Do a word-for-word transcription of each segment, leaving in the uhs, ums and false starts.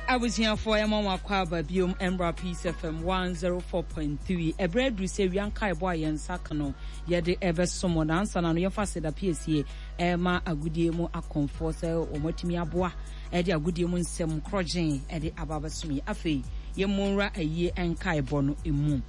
Abusuafoɔ, yɛma mo akɔ aba biom mmra Peace F M one oh four point three. Ɛberɛ aduru sɛ wia nkaebɔ a yɛn nsa ka no yɛde ɛbɛsom mo. Nansa na no yɛmfa seda piesie ɛma agodie mu akɔmfoɔ sɛ wɔn atumi aboa ɛde agodie mu nsɛm korɔgyen ɛde aba abɛsom yi. Afei yɛmmɔ nwura ayie nkaebɔ no emu.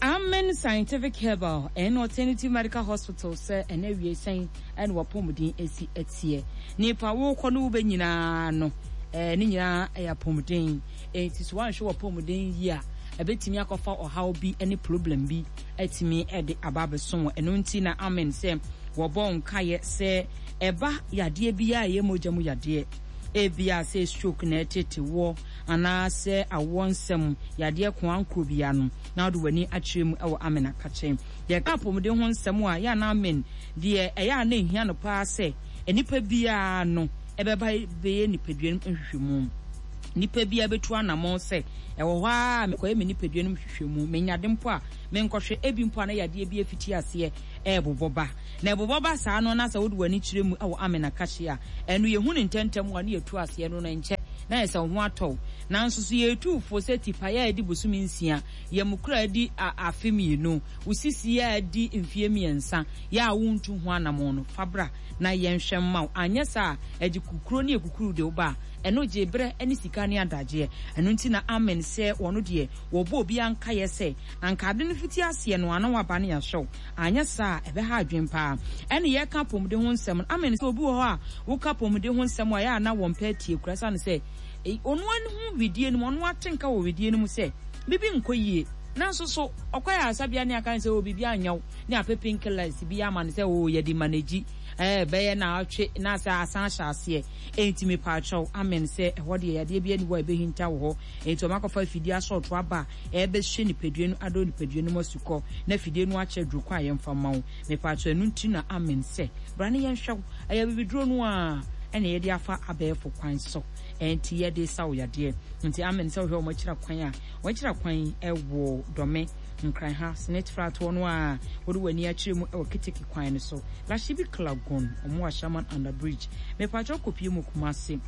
Amen Scientific Herbal and Alternative Medical Hospital sɛ ɛnɛ awie sɛn ɛna wapɔmuden esi ɛteɛ. Nipa wokɔ no wobɛ nyinaa no, ɛɛ ne nyinaa ɛyɛ apɔmuden. Eti so wanhwɛ wapɔmuden yie a, ɛbɛtumi akɔfa ɔhaw bi ɛne problem bi ɛtumi ɛde aba abɛso wɔ ɛno. Nti na Amen sɛ wɔbɔ nkaeɛ sɛ ɛba yadeɛ bi a ɛyɛ mogya mu yadeɛ, ebia sɛ stroke na ɛtete wɔ anaasɛ awoɔ nsɛm yadeɛ koankoro bia no, na wode w'ani akyerɛ mu ɛwɔ Amen akakyɛ. Yɛka apɔmuden ho nsɛm a yɛ ana Amen deɛ, ɛyɛ a na ehia no paa sɛ nipa biara no ɛbɛba bɛyɛ nipadua no nhwehwɛmu. Nipa biara bɛtu anammɔn sɛ ɛwɔ hɔ a mekɔyɛ me nipadua no nhwehwɛmu, menyade mpo a menkɔhwɛ ebi mpo a na yadeɛ bi afiti aseɛ ɛɛbobɔ ba na ɛbobɔ ba saa no, na sɛ wode w'ani kyerɛ mu ɛwɔ Amen akahye a, ɛno yɛhu ne ntɛntɛm a ne yɛtu aseɛ no no nkyɛ na yɛ sɛ wo ho atɔw. Nanso so yɛtu fo sɛ tipaeɛ a ɛdi bosome nsia, yɛmukura adi afe mmienu, wo sisi a adi mfie mmiɛnsa yɛ a wontu ho anammɔn no, fa bra na yɛnhwɛ mma wo. Anyɛ saa a, ɛgye kukuro ne ekukuru de wo ba a, ɛno gye berɛ ne sika ne adagyeɛ. Ɛno nti na Amen sɛ wɔno deɛ wɔbɔ obi ankayɛ sɛ anka ade no fiti aseɛ no ana waba ne yɛahyɛw. Anyɛ saa a, ɛbɛha adwen paa. Ɛne yɛka apɔmuden ho nsɛm no, Amen sɛ obi wɔ hɔ a woka apɔmuden ho nsɛm a ɛyɛ a na wɔmpɛ atie kura, sane sɛ ɔno ani ho widie no mu, ɔno ate nka wɔ widie no mu sɛ bibi nkɔ yie. Nanso so ɔkɔ yɛ asabea ne aka sɛ o biribi anyɛw ne apɛ painkillers bi ama no sɛ o yɛde manage, ɛɛ bɛyɛ na atwe na sɛ asan ahyɛ aseɛ. Enti mepaakyɛw, Amen sɛ ɛhɔ deɛ yadeɛ bi ani hɔ a ɛbɛhinta wɔ hɔ. Enti ɔmo akɔfa afidie asɔɔto aba a ɛbɛhyɛ nipadua no adɔ nipadua no mu asukɔ na afidie no akyɛ duro kwan a yɛmfa ma wo. Mepaakyɛw, ɛno nti na Amen sɛ bra ne yɛnhwɛ wo. Ɛyɛ bibiduro no a ɛna yɛde afa abɛɛfo kwan so, ɛnti yɛde sa wo yadeɛ. Nti Amen sɛ wohwɛ wɔn akyira kwan a, wɔn akyira kwan ɛwɔ Dɔme, Nkran ha, Senate fratoɔ no a wode w'ani akyerɛ mu ɛwɔ Keteke kwan no so, Lashibi Klagon, ɔmo Ashaman under bridge. Mepaakyɛw, kɔpie mu Kumase,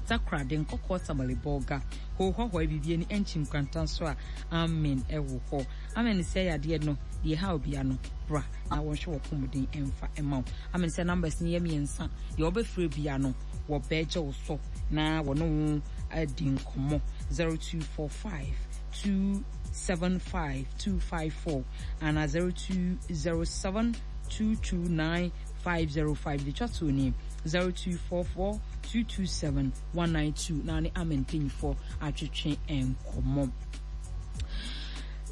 Takoradi, Nkɔkɔɔ, Tamale, Bɔɔga, hohɔhɔ biribi ani ɛnkyi nkwanta so a, Amen ɛwɔ hɔ. Amen sɛ yadeɛ no deɛ ɛha obia no, bra na wɔnhwɛ wɔ pɔmuden ɛmfa ɛma wo. Amen sɛ numbers no yɛ mmiɛnsa deɛ wɔbɛfrɛ bia no, wɔbɛgye wo so na wɔne wo adi nkɔmmɔ: zero two four five two seven five two five four ana zero two zero seven two two nine five zero five. De twa to ni zero two four four two two seven one nine two na ne Amen mpanyinfoɔ atwetwe nkɔmmɔ.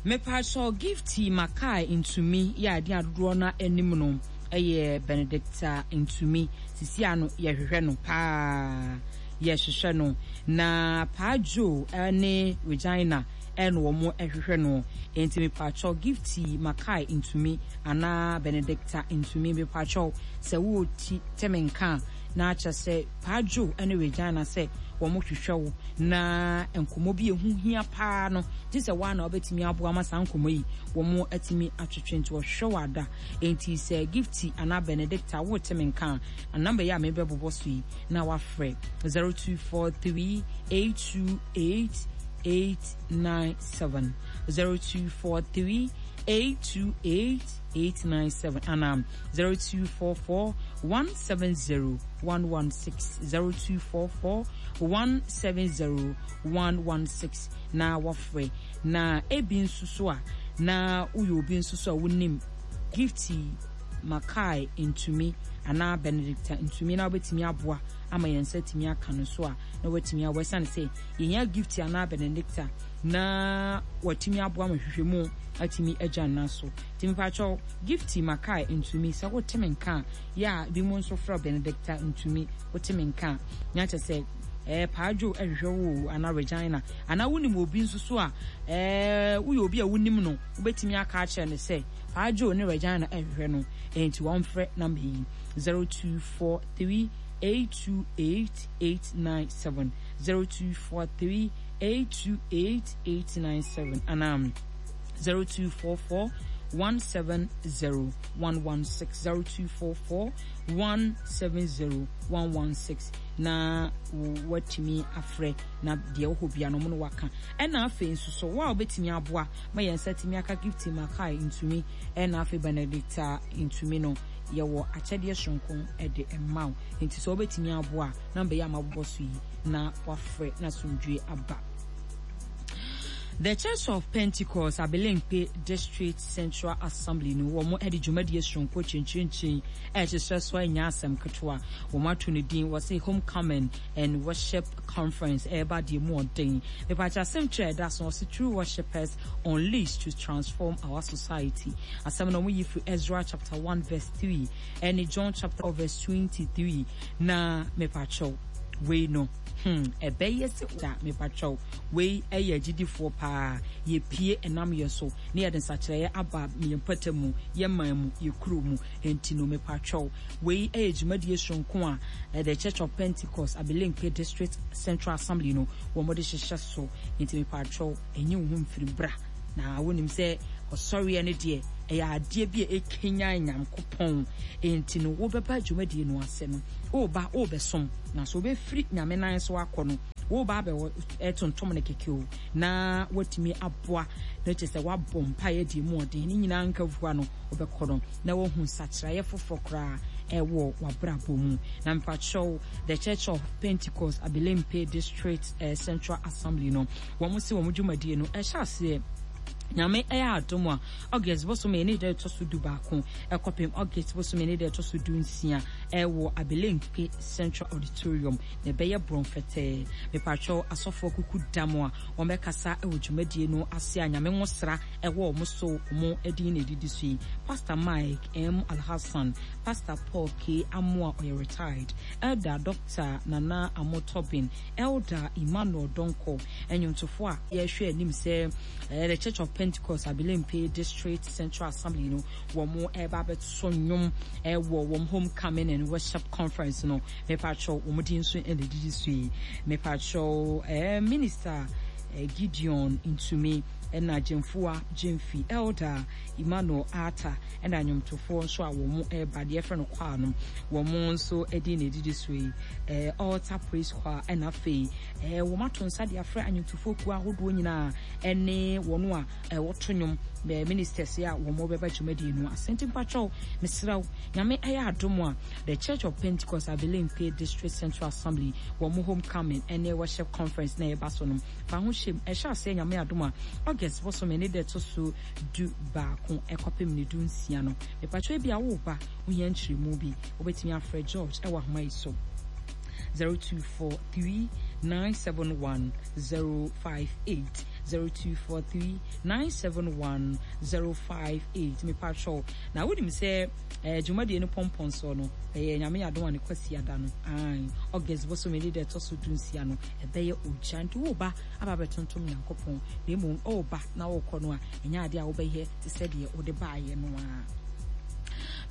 Mepaakyɛw, Gifty Makai Ntumi yɛ adeɛ adodoɔ no anim no ɛyɛ Benedicta Ntumi. Sisi ano yɛhwehwɛ no paa, yɛhwehwɛ no na Paajo ne Regina ɛna wɔn ɛhwehwɛ no. Nti mepaakyɛw, Gifty Makai Ntumi anaa Benedicta Ntumi, mepaakyɛw, sɛ wɔɔti tɛmɛ nka na akyɛ sɛ Paajo ne Regina sɛ wɔn hwehwɛ wo na nkɔmɔ bi ehu hia paa no gye sɛ wɔn a na wɔbɛtumi aboa ama saa nkɔmɔ yi wɔn atumi atwetwe. Nti wɔhwehwɛ wɔ ada. Nti sɛ Gifty anaa Benedicta wɔɔte me nka a, number yi a mebɛbobɔ so yi na wafrɛ: zero two four three eight two eight eight nine seven, zero two four three eight two eight eight nine seven anaa zero two four four one seven zero one one six, zero two four four one seven zero one one six na wafrɛ. Na ebi nso so a na woyɛ obi nso so a wonim Gifty Makai Ntumi anaa Benedicta Ntumi na wobɛtumi aboa ama yɛn nsa tumi aka no so a, na watumi aboa, ɛsiane sɛ yɛnya Gifty anaa Benedicta na watumi aboa ma hwehwɛmu atumi agya nna so. Nti mepakyɛw, Gifty Makai Ntumi, sɛ wote me nka a, yɛ a bi mu nso frɛ Benedicta Ntumi, wote me nka a, na kyerɛ sɛ ɛɛ Paadwo ɛhwehwɛ wo anaa Regina anaa wonim obi nso so a ɛɛ woyɛ obi a wonim no, wobɛtumi aka akyerɛ no sɛ Paadwo ne Regina ɛhwehwɛ no. Ɛnti wɔmfrɛ number yi: zero two four three eight two eight eight nine seven, zero two four three eight two eight eight nine seven anaa zero two four four one seven zero one one six, zero two four four one seven zero one one six. Na watumi afrɛ na deɛ wɔ hɔ bia no ɔmo no waka. Ɛna afei nso so wo a wobɛtumi aboa ma yɛn nsa tumi aka Gift Makai Ntumi ɛna afei Benedicta Ntumi no, yɛwɔ akyɛdeɛ soronko ɛde ɛma wo. Nti sɛ wobɛtumi aboa na mbɛyɛ ama bobɔ so yi na wafrɛ na asomdwie aba. The Church of Pentecost Abelemkpe District Central Assembly no, wɔn de dwumadie soronko kyenkyenkyen ɛhyehyɛ so anya asɛm ketewa. Wɔn ato ne din wɔse Homecoming and Worship Conference. Ɛreba deɛ mu ɔden. Mepakyɛ, asɛm kyerɛ ɛda so wɔse "True Worshippers Unleashed to Transform Our Society". Asɛm no wɔn yi firi Ezra chapter one verse three ɛne John chapter verse twenty-three. Na mepakyɛw, wei no hmm ɛbɛyɛ sɛ da. Mepakyɛw, wei ɛyɛ agyidifoɔ paa. Yɛpie ɛnam yɛ so ne yɛde nsakyerɛeɛ aba yɛn mpata mu, yɛ man mu, yɛ kuro mu. Nti no mepakyɛw, wei ɛyɛ dwumadie soronko a The Church of Pentecost Abelemkpe District Central Assembly no wɔn de hyehyɛ so. Nti mepakyɛw, ɛnyɛ wo ho mfiri, bra. Na wonim sɛ ɔsɔreɛ no deɛ, ɛyɛ adeɛ bi a ɛkenyan Nyankopɔn. Nti no wobɛba dwumadie no ase no, woba wobɛsom, na so wobɛfiri Nyame nan so akɔ no, woba abɛwɔ ɛtontom no kɛkɛ o, na watumi aboa na kyerɛ sɛ wabɔ mpaeɛ deɛ mu ɔden ne nyinaa nka fua no, wobɛkɔ no na wahu nsakyeraeɛ foforɔ koraa ɛwɔ w'abrabɔ mu. Na mepakyɛw, The Church of Pentecost Abelemkpe District eh, Central Assembly no, wɔn si wɔn dwumadie no ɛhyɛ aseɛ, Nyame ɛyɛ adom a, August bosome ne da ɛtɔ so du baako ɛkɔpem August bosome ne da ɛtɔ so du nsia ɛwɔ Abelemkpe Central Auditorium, na ɛbɛyɛ borɔn fɛtɛɛ. Mepakyɛw, asɔfoɔ kuku dam a wɔbɛkasa ɛwɔ dwumadie no ase a Nyame nwosra ɛwɔ wɔn so, wɔn din na ɛdidi so yi: Pastor Mike M Alhassan, Pastor Paul K Amoa, ɔyɛ retired Elder Doctor Nana Amotobin, Elder Emmanuel Donko. Ɛnwomtofoɔ a yɛhwɛ anim sɛ ɛyɛ The Church of Pentecost Abelemkpe District Central Assembly no wɔn ɛreba abɛto nnwom ɛwɔ wɔn Homecoming and Worship Conference no, mepakyɛw, wɔn din nso ɛna ɛdidi so yi. Mepakyɛw, ɛɛ Minister Gideon Ntumi ɛna Gyemfoa Gyemfi, Elder Emmanuel Arthur, ɛna nnwomtofoɔ nso a wɔn ɛreba deɛ yɛfrɛ no choir no, wɔn nso ɛdin na ɛdidi so yi, ɛɛ Altar Praise Choir. Ɛna afei ɛɛ wɔn ato nsa de afrɛ anwomtofoɔ kuo ahodoɔ nyinaa ɛne wɔn a ɛwɔto nnwom, ɛɛ ministers a wɔn bɛba dwumadie no asɛnti. Mpakyɛw, mesrɛw, Nyame ɛyɛ adom a, The Church of Pentecost Abelemkpe District Central Assembly wɔn Homecoming ɛne Worship Conference na ɛba so no, fa ho hyɛm. Ɛhyɛ aseɛ, Nyame adom a, August bosome ne da ɛtɔ so du baako ɛkɔpem ne du nsia no. Mepakyɛw, bi a woba wohia nkyerɛmu bi, wobɛtumi afrɛ George ɛwɔ ahoma yi so: zero two four three nine seven one zero five eight, zero two four three nine seven one zero five eight. Mepakyɛw, na wonim sɛ eh, dwumadie no pɔmpɔn soɔ no ɛyɛ, Nyame yɛ adom a, ne Kwasi ada no ae, August bosome ne da ɛtɔ so du nsia no, ɛbɛyɛ ogya. Nti woba aba bɛtontom Nyankopɔn, na mmom ɔreba na wokɔ no a, ɛnyɛ adeɛ a wobɛyɛ te sɛ deɛ wode baayɛ no a.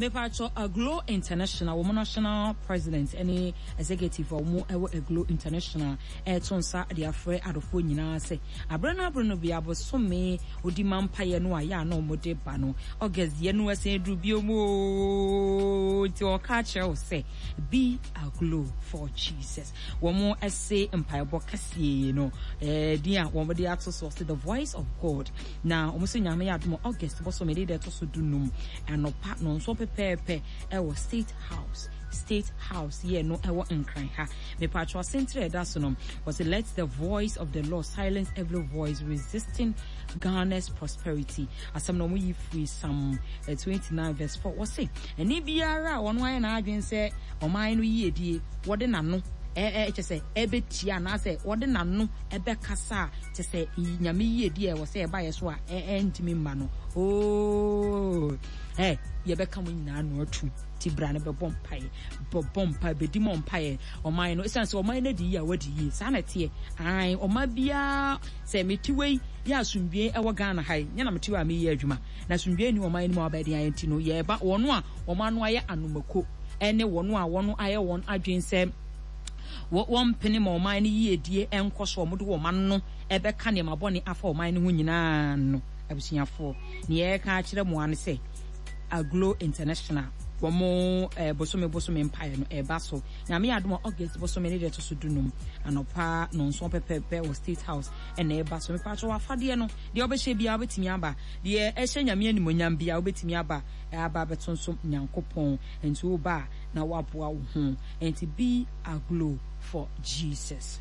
Mepakyɛ, Aglo International wɔn national president ne executive a wɔn ɛwɔ Aglo International ɛreto nsa de afrɛ adɔfoɔ nyinaa sɛ aberɛ no aberɛ no bi abosome odi ma mpaeɛ no a yɛ a na wɔde ba no, August deɛ no ɛsɛn duru bio mu ooo. Nti ɔka akyerɛ wo sɛ be aglow for Jesus. Wɔn ɛse mpaebɔ kɛseɛ no ɛɛ din a wɔn de ato so sɛ "The Voice of God". Na wɔn nso, Nyame yɛ adom, August bosome de deɛ ɛtɔ so dunum anɔpa nɔnso pɛpɛɛpɛ ɛwɔ State House, State House yɛ no ɛwɔ Nkran ha. Mepatro, asɛntire ɛda so no wɔsɛ "Let the voice of the Lord silence every voice resisting Ghana's prosperity". Asɛm na wɔn yi firi Psalm twenty nine verse four. Wɔsɛ ɛne biara a wɔn ayɛ n'adwene sɛ ɔman no yiedie wɔde n'ano ɛɛ kyɛ sɛ ɛbɛtia anaasɛ wɔde n'ano ɛbɛkasa a kyɛ sɛ Nyame yiedie a ɛwɔ sɛ ɛba yɛ so a ɛntumi mma no ooo, ɛ yɛbɛka mo nyinaa no atu. Ti bra no bɛbɔ mpaeɛ, bɔbɔ mpaeɛ, bɛdi mɔ mpaeɛ ɔman no, ɛsiane sɛ ɔman no adi yie a wadi yie. Saa na ɛteɛ ae. Ɔman biara sɛ mete wei yɛ asomdwie ɛwɔ Ghana ha yi, nyɛ na mete wei a meyɛ adwuma na asomdwie ni ɔman no mu a wabɛyɛ den ayɛ. Nti no yɛba wɔn a wɔn ano ayɛ anomako ɛne wɔn a wɔn ayɛ wɔn adwene sɛ wɔmpene ma ɔman no yiedie nkɔ so, wɔn de wɔn ano ɛbɛka nneɛma bɔne afa ɔman no ho nyinaa no, abusuafoɔ, nea yɛreka akyerɛ mo ano sɛ Aglo International Wɔn eh, bosome bosome mpaeɛ no ɛba so. Nyame yɛ adom a August bosome ne deɛ ɛto so dunum anɔpa nɔnson pɛpɛɛpɛ wɔ State House ɛna ɛba so. Mepatwɔ w'afadeɛ no deɛ wobɛhyɛ biara wobɛtumi aba, deɛ ɛhyɛ Nyame animuonyam biara wobɛtumi aba aba abɛtonsom Nyankopɔn. Nti woba a na woaboa wo ho. Nti be aglow for Jesus.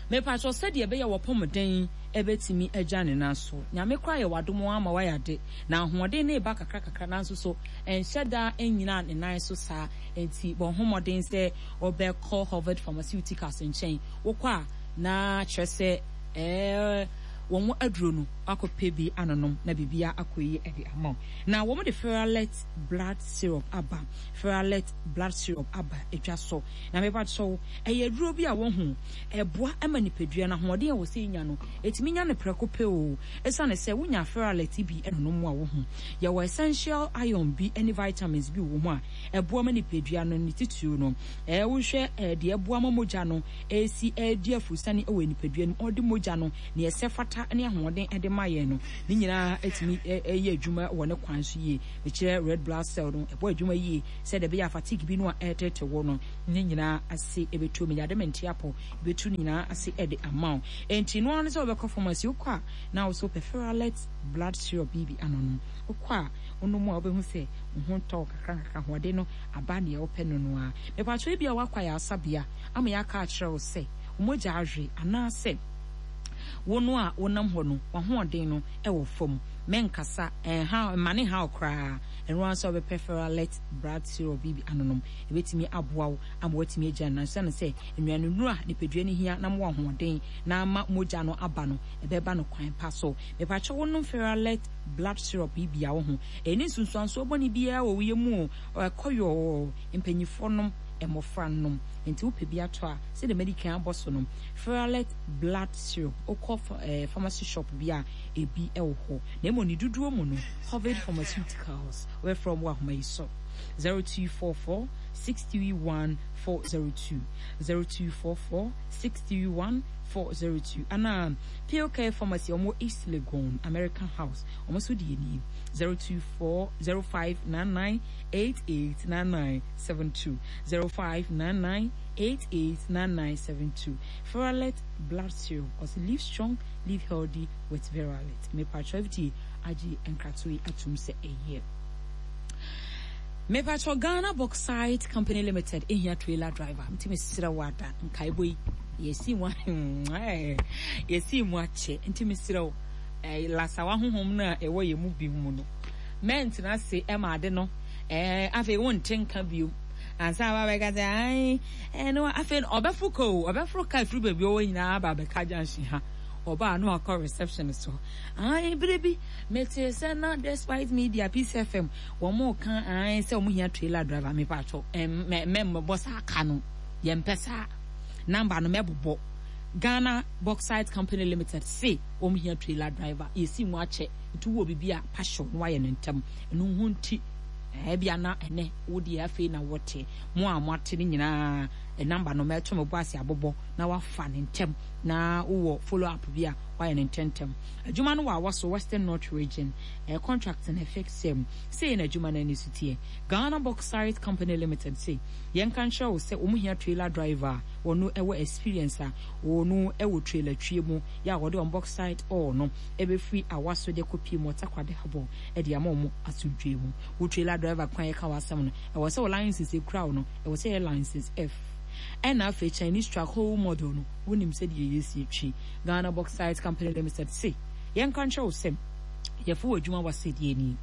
Mepatwɔ sɛdeɛ ɛbɛyɛ wɔpɔmuden ɛbɛtumi agya ne nan so. Nyame koraa yɛ w'adom ama wayɛ ade na ahoɔden ne ba kakra kakra nanso so ɛnhyɛ da nnyina ne nan so saa. Nti bɔ ho mmɔden sɛ wɔbɛkɔ Harvard Pharmaceuticals nkyɛn. Wokɔ a na kyerɛ sɛ ɛɛ wɔn aduro no akɔpɛ bi anonom na biribia akɔ yi de ama wo. Na wɔn de Ferralet blood syrup aba. Ferralet blood syrup aba edwa so. Na mepa kyɛw ɛyɛ aduro bi a wɔn ho ɛboa ma nipadua no ahoɔden a wɔsɛ nya no etumi nya no prɛko pɛ o. Esiane sɛ wonya Ferralet bi ɛnonom a wɔho yɛwɔ essential iron bi ne vitamins bi wɔ mu a ɛboa ma nipadua no ne titiriw no ɛɛ wohwɛ ɛɛ deɛ ɛboa ma mogya no esi ɛdi afurusane wɔ nipadua no mu ɔde mogya no nea ɛsɛ fata ne ahoɔden ɛde ma yɛn no ne nyinaa etumi ɛyɛ adwuma wɔ ne kwan so yie. Mekyerɛ red blood cell no ɛbɔ adwuma yie sɛ deɛ ɛbɛyɛ fatigue bi no a ɛretete wɔ no ne nyinaa ase ɛbɛtu mu yade mente apɔ ɛbɛtu ne nyinaa ase ɛde ama wo. Enti no ano sɛ wɔbɛkɔ pharmacy wokɔ a na wo so pɛ Ferralet blood syrup bi bi ano no wokɔ a wonom a wobɛhu sɛ wo ho tɔ kakra kakra ahoɔden no aba nea wopɛ no no a. Mepatwɛ bi a wakɔ ayaresabea ama yɛaka akyerɛ wo sɛ wo mogya ahwe anaasɛ wo no a wonam hɔ no w'ahoɔden no ɛwɔ fam. Mɛnkasa ɛnha mma ne ha koraa. Ɛno ara nso wobɛpɛ Ferralet blood syrup bi bi anonom ɛbɛtumi aboa wo ama watumi agya no sɛne sɛ nnuane nnuro a nipadua no hia na ma ahoɔden na ama mogya no aba no ɛbɛba no kwan pa so. Mepatwɛ wonom Ferralet blood syrup yi bia wo ho ɛni nsunsuansoɔ bɔne biara wɔ wo yɛ mu o. Ɛkɔ yɔɔ mpanyinfoɔ nom, mmɔfra nom. Nti wopɛ bi atɔ a sɛdeɛ madi kan abɔ so no Ferralet blood syrup wokɔ eh, pharmacy shop bi a ebi ɛwɔ hɔ. Na mmom ne dodoɔ mu no Harvard Pharmaceuticals wɔbɛfrɛ wɔn wɔ ahoma yi so zero two four four six three one four zero two zero two four four six three one four zero two ana Pillcare Pharmacy ɔmo East Legon American House ɔmo nso deɛ nie zero two four zero five nine nine eight eight nine nine seven two zero five nine nine eight eight nine nine seven two. Ferralet blood syrup ɔsi live strong, live healthy with Ferralet. Mepatwa F D A agye nkratoɔ yi atum sɛ ɛyɛ. Mepatwa Ghana Bauxite Company Limited ehia trailer driver. Nti mesrɛ wo ada nkaebɔ yi yɛsi mu yɛsi mu akyɛ nti mesrɛ wo ɛɛ lasawa honhom no a ɛwɔ yɛn mu bi mu no mɛntena ase ɛma ade no ɛɛ afei wonte nka biom ansa aba bɛka sɛ ae ɛno afei ɔbɛforo ka o ɔbɛforo ka afiri baabi ɔwɔ nyinaa aba abɛka junction ha ɔbaa no akɔ reception so ae bere bi mete sɛ na Despite Media, Peace F M wɔn mo ka ae sɛ wɔn hia trailer driver. Mepatwɔ mɛ mɛ mbɔ saa ka no yɛmpɛ saa number no mɛbobɔ. Ghana Bauxite Company Limited se wɔn hia trailer driver yɛsi mu akyɛ nti wɔ bibi a pahyɛw no wayɛ ne ntɛm ɛno ho nti ɛbi ana ɛnɛ wo deɛ afei na wɔte mo a moate no nyinaa number no mɛto me bɔ ase abobɔ na wafa ne ntɛm na wowɔ follow up bi a wayɛ ne ntɛntɛm. Adwuma no wɔ Awɔ Western North Region ɛyɛ contract na ɛfix mu sei na adwuma no ani so teɛ. Ghana Bauxite Company Limited sei yɛnka nkyerɛ wo sɛ wɔn hia trailer driver a wɔno ɛwɔ experience a wɔno ɛwɔ trailer twie mu yɛ a wɔde wɔn bauxite ore no ɛbɛfiri awa so de kɔpie mu Ɔtakwade habɔ ɛde ama wɔn asomdwe mu. Wo trailer driver kwan yɛka w'asɛm no ɛwɔ sɛ wo license ekura wo no ɛwɔ sɛ yɛ license F ɛna afei Chinese truck whole model no wonim sɛdeɛ yɛsi twi. Ghana Bauxite Company Limited se yɛnka nkyerɛ wo sɛ yɛfo wɔ adwuma wɔ ni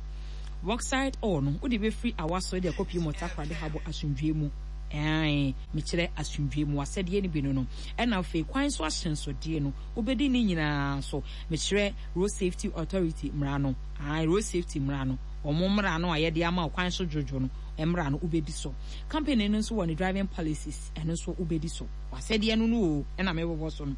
bauxite ore no wode bɛfiri awa so de akɔpie mu Ɔtakorade habɔ asomdwe mu ɛn mekyerɛ asomdwe mu asɛdeɛ no bi no no ɛna afei kwan so ahyɛnsodeɛ no wobɛdi ne nyinaa so. Mekyerɛ Road Safety Authority mmara no ae road safety mmara no wɔn mmara no a yɛde ama kwan so dwodwo no mmara no wobɛdi so. Company no nso wɔ ne driving policies ɛno nso wobɛdi so wasɛdeɛ no no o ɛna mebobɔ so no.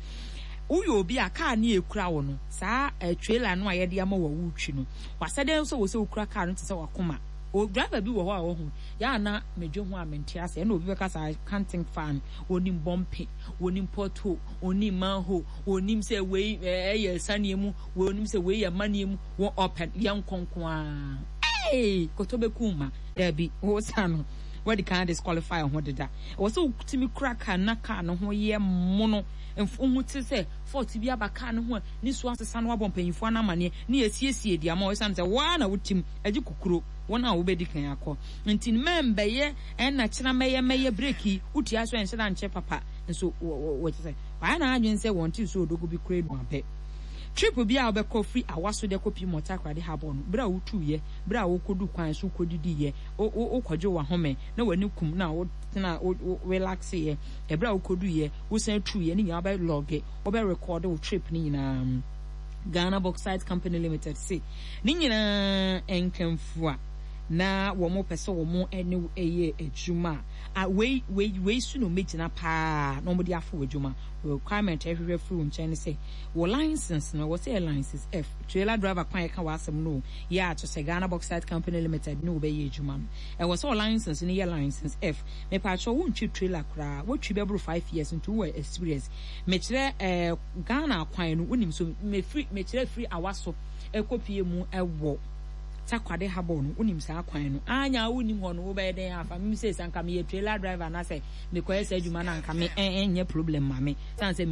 Woyɛ obi a kaa ne ekura wo no saa uh, trailer no a yɛde ama wɔ wotwi no wasɛdeɛ nso wɔ sɛ wokura kaa no te sɛ wakoma o driver bi wɔ hɔ a wɔho yɛ ana medwe ho a mente ase ɛna obi bɛka saa can't think fan onim bɔmpe onim pothole onim manhole onim sɛ wei ɛyɛ saneɛ mu wei onim sɛ wei yɛ maneɛ mu wɔn ɔpɛ yɛn nkonko a Hey, koto bɛkum ma daabi, wo sa no wɔde kan disqualify ho deda. Ɛwɔ sɛ wotumi kura kaa na kaa no ho yɛ mono, mfo te sɛ fault bi aba kaa no ho a, ne so asesa no, wabɔ mpanyinfoɔ no amaneɛ ne yɛsiesie di ama ɔsan sɛ waa na wotim agye kukuro wɔn a wobɛdi kan akɔ. Nti mmɛmbɛyɛ ɛna kyerɛ mɛyɛ mɛyɛ breki wotua so ɛnhyɛ da nkyɛ papa nso wɔ kyɛ sɛ wayɛ n'adwene sɛ wɔn ti so odogo bi kura nu abɛ. Trip bi a wobɛkɔ firi Awaso de kɔ pii Mɔtakoradi habɔ no, berɛ a wotuyɛ, berɛ a wokɔdu kwan so, wokɔdidiyɛ, wokɔgye wahome na w'ani kum na wotena wo relax yɛ, ɛberɛ a wokɔduyɛ, wosan tuyɛ ne nyinaa, wobɛ log, wobɛ record wo trip ne nyinaa. Ghana Bauxite Company Limited se ne nyinaa nkamfua na wɔn pɛ sɛ wɔn ne ɛyɛ adwuma a, wei wei wei so na wɔn paa na wɔn de afo adwuma. Requirement a ɛhwehwɛ firi wɔn nkyɛn ne sɛ wɔ license no, wɔ sɛ yɛ license F trailer driver kwan yɛka wɔ asɛm no yɛ ato sɛ Ghana Bauxite Company Limited ne wɔbɛyɛ adwuma no, ɛwɔ sɛ wɔ license no yɛ license F. Mepatwɛ, wontwi trailer koraa, wotwi bɛboro five years, nti wowɔ experience. Mekyerɛ ɛɛ Ghana kwan no wonim so. Mefiri, mekyerɛ firi Awaso ɛkɔpie mu ɛwɔ Takoradi habɔ no, wonim saa kwan no anya. Wonim hɔ no, wobɛyɛ dɛn afa mim sɛ sɛ anka meyɛ trailer driver anaasɛ mekɔyɛ saa adwuma no, anka me ɛnyɛ problem ma me san sɛ